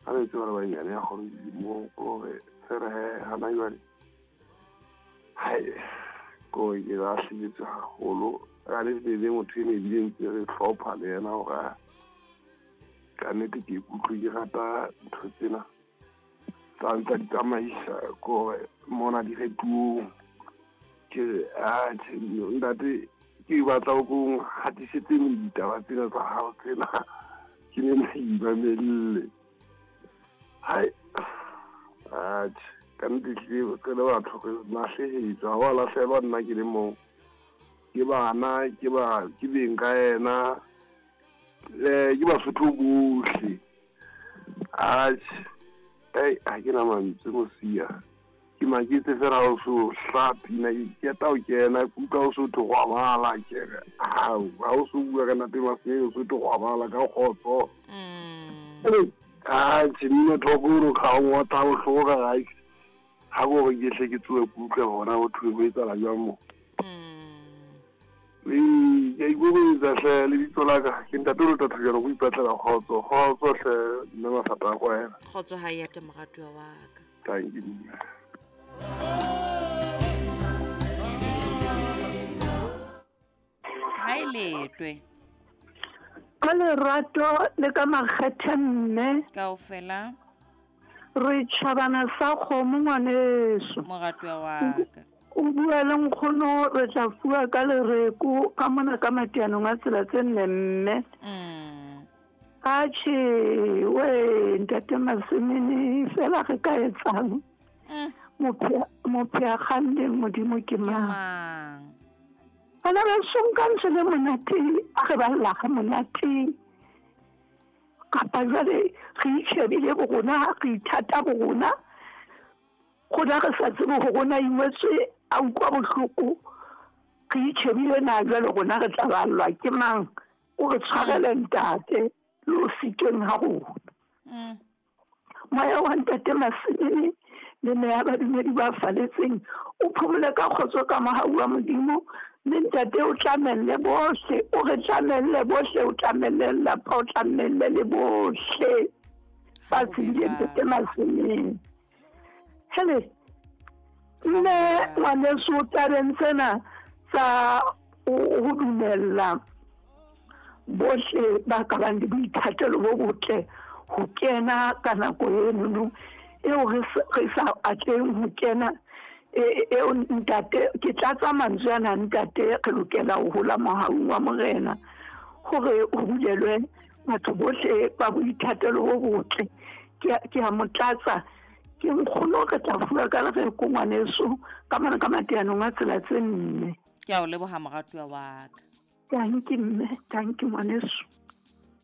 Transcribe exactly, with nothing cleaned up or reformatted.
Ha re tseba ba banyane ya kgolo dilemong kore fela he hana jwale hai ko ke lahlehetswe haholo. Ka nnete le motho ene ebile ntse re hlopha le yena hore ka nnete ke ikutlwe ke rata ntho tsena tsa ntsa di tsamaisa kore mona diretuong. Ke re atjhe ntate ke batla o ko hatisetse ditaba tsena tsa hao tsena ke ne ke imamelle. Hai atjhe ka nnete ehlile re le batho re lahlehetswe, ha wa lahlehelwa nna ke le mong. Ke bana ke ba ke beng ka yena eh ke Basotho bohle. Atjhe ei ha ke na mantswe mosia. Ke maketse fela ha o so hla pina ke qeta ho kena ke utlwa o so thwe robala ke re hao ha o so bua ka ntate Masemene o so thwe robala ka kgotso. Mm. Atjhe mmino thoko o kga o ngotla bohloko ka gae. Ha ko re ke hle ke tsohe ke utlwe hona ho thwe ho etsahala jwang mo. Mm. Ee, ke a ikokobetsa hle lebitso la ka ke ntate o tla thojana go ipatlela kgotso. Kgotso hle mme Mafata a kwena. Kgotso ha e ate moratuwa wa ka. Thank you mme. Ha e letwe. Ka lerato le ka makgethe mme. Kaofela. Re tjhabana sa kgomo ngwaneso. Moratuwa wa ka. O bua le nkgono re tla fuwa ka lereko ka mona ka matianong a tsela tse nne mme. Mm. Atjhe we ntate Masemene fela re ka etsang? Mm. Mophe kganneng Modimo ke Ke mang? mang? Bana ba sonka ntse le monate, a re ba lla ga monate. Kapa jwale re itjhebile bo rona, re ithata bo rona. Rona re sa tsebe hore rona ingwetswe a utlwa bohloko. Re itjhebile na jwale rona re tla ballwa ke mang? O re tshwarele ntate le ho sitweng ha rona. Mm. Moya wa ntate Masemene le meya badumedi ba faletseng o phomole ka kgotso ka mohau wa Modimo. Mme ntate o tlamelle bohle, o re tlamelle bohle, o tlamelle lelapa, o tlamelle le bohle ba Ha ho be tsebileng ntate jwalo. Masemene. Hele, mme Ha ho be jwalo. ngwaneso tabeng tsena tsa ho dumella bohle ba ka bang le boithatelo bo botle ho kena ka nako enono eo re sa atleheng ho kena eo ntate ke tlatsa mantswe ana ntate re lokela ho hola mohaung wa Morena hore ho bulelwe batho bohle ba boithatelo bo botle. Ke a mo tlatsa ke nkgono re tla fuwa ka lereko ngwaneso ka mona ka matianong a tsela tse nne. Ke a o leboha moratuwa wa ka. Thank you mme, thank you ngwaneso.